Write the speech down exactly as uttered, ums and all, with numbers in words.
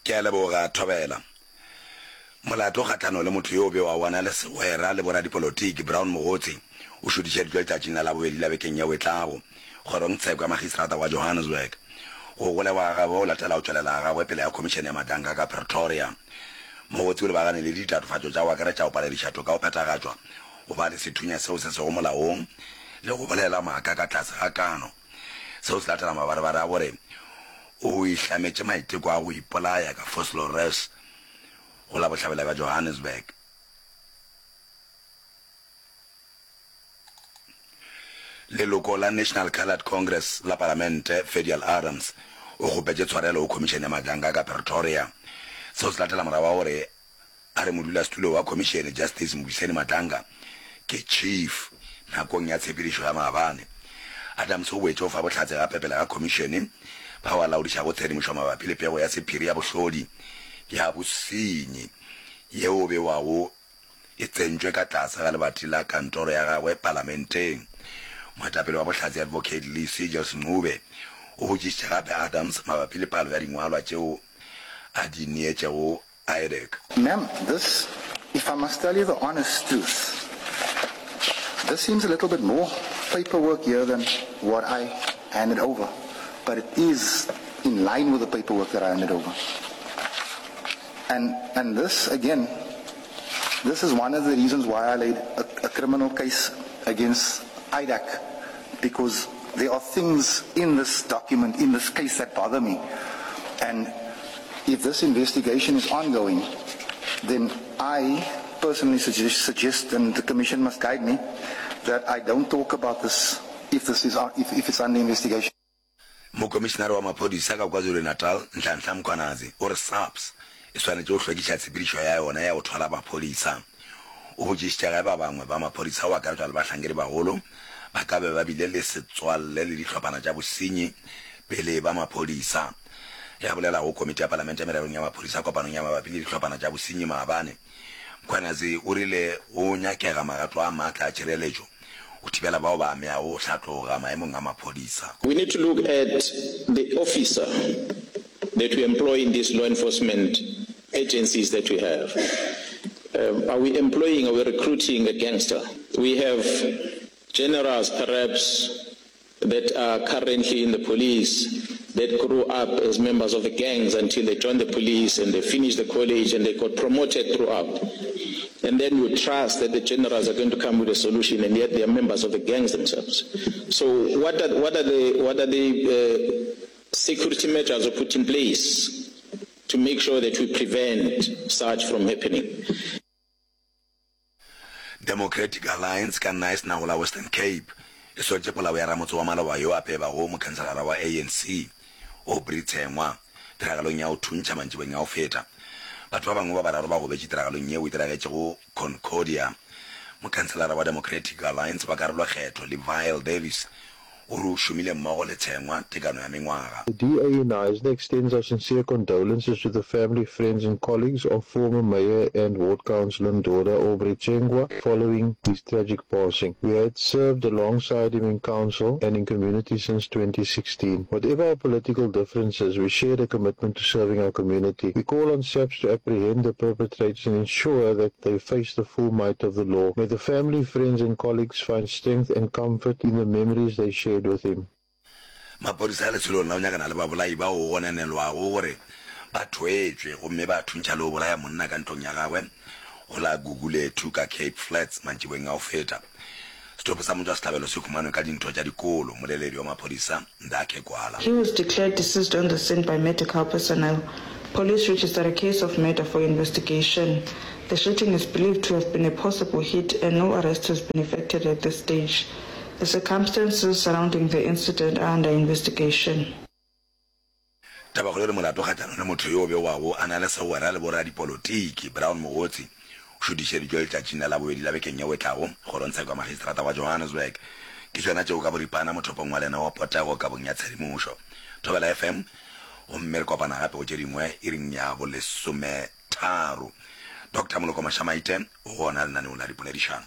Ke a leboga, Thobela. Molato kgahlano le motho yo o bewago a na le segwera le boradipolotiki, Brown Mogotsi, o šutišeditšwe letšatšing la Labobedi la bekeng yeo e tlago, kgorongtsheko ya Magistrata wa Johannesburg. Go golegwa ga gagwe go latela go tšwelela ga gagwe pele ga Khomišene ya Madlanka ka Pretoria. Mogotsi o lebagane le ditatofatšo tša go akaretša go palediša toka go phethagatšwa, go ba le sethunya seo se sego molaong le go bolela maaka ka tlase ga kano. Seo se latela mabarebare a gore o ihlametše maiteko a go ipolaya ka Vosloorus go la bohlabela bja Johannesburg. Leloko la National Coloured Congress la Palamente, Ferdial Adams, o kgopetše tshwarelo go Khomišene ya Madlanka ka Pretoria. Seo se latela morago ga gore a re modulasetulo wa khomišene, Justice Mbuyiseni Madlanga, ke chief nakong ya tshepedišo ya maabane. Adams o boetše go fa bohlatse gape pele ga khomišene bao a laodišago tshedimošo mabapi le pego ya sephiri ya bohlodi bja bosenyi yeo bewago e tsentšwe ka tlase ga lebati la kantoro ya gagwe palamenteng. Moetapele wa bohlatse Advocate Lee Seegers Ncube o botšišitše gape Adams mabapi le palo ya dingwalwa tšeo a di neetšego IDAC. Ma'am, this, if I must tell you the honest truth, this seems a little bit more paperwork here than what I handed over, but it is in line with the paperwork that I handed over. And, and this, again, this is one of the reasons why I laid a, a criminal case against IDAC, because there are things in this document, in this case, that bother me. And if this investigation is ongoing, then I personally suggest, suggest and the commission must guide me, that I don't talk about this if this is if, if it's under investigation. Mokomišenare wa maphodisa ka KwaZulu-Natal, Nhlanhla Mkhwanazi, o re SAPS e swanetše go hlwekiša tshepedišo ya yona ya go thwala maphodisa. O botšišitše ge ba bangwe ba maphodisa go akaretšwa le bahlankedi bagolo ba ka be ba bile le setswalle le dihlophana tša bosenyi pele e ba maphodisa. Ge a bolela go komiti ya palamente mererong ya maphodisa kopanong ya mabapi le dihlophana tša bosenyi maabane, Mkhwanazi o rile go nyakega magato a maatla a tšhireletšo go thibela bao ba ameago go hlatloga maemong a maphodisa. We need to look at the officer that we employ in these law enforcement agencies that we have. Um, are we employing, are we recruiting a gangster? We have generals perhaps that are currently in the police that grew up as members of the gangs until they joined the police and they finished the college and they got promoted throughout. And then you trust that the generals are going to come with a solution, and yet they are members of the gangs themselves. So what are, what are the, what are the uh, security measures we put in place to make sure that we prevent such from happening? Democratic Alliance ka Knysna go la Western Cape e sotše polao ya ramotse wa maloba yo a pebago mokhanselara wa A N C, Aubrey Tsengwa, tiragalong ya go thuntšha mantšibeng a go feta. Batho ba bangwe ba bararo ba gobetše tiragalong yeo e diragetšego Concordia. Mokhanselara wa Democratic Alliance wa karolokgetho, Levile Davies, O re o šomile mmogo le Tshengwa tekano ya mengwaga. The D A in Knysna extends our sincere condolences to the family, friends and colleagues of former Mayor and Ward Councillor Ndoda Aubrey Tsengwa following his tragic passing. We had served alongside him in council and in community since twenty sixteen. Whatever our political differences, we shared a commitment to serving our community. We call on SAPS to apprehend the perpetrators and ensure that they face the full might of the law. May the family, friends and colleagues find strength and comfort in the memories they shared with him. Maphodisa a letsholong la go nyakana le babolai bao go gononelwago gore ba thwetšwe gomme ba thuntšha le go bolaya monna ka ntlong ya gagwe go la Gugulethu ka Cape Flats mantšiboeng a go feta. Setopo sa motšwasehlabelo se humanwe ka dintho tša dikolo, moleledi wa maphodisa Ndakhe Gwala. He was declared deceased on the scene by medical personnel. Police registered a case of murder for investigation. The shooting is believed to have been a possible hit and no arrest has been effected at this stage. The circumstances surrounding the incident are under investigation. Tabakgolo e re molato kgahlanong le motho yo bewago a na le segwera le boradipolotiki, Brown Mogotsi, o šutišeditšwe letšatšing la Labobedi la bekeng yeo e tlago kgorongtsheko ya Magistrata wa Johannesburg. Ke tšona tšeo ka boripana mothopong wa lena wa potego kabong ya tshedimošo. Thobela F M, gomme re kopana gape go tše dingwe iring ya bolesometharo. Doctor Moloko Mashamaite o gona lenaneong la dipoledišano.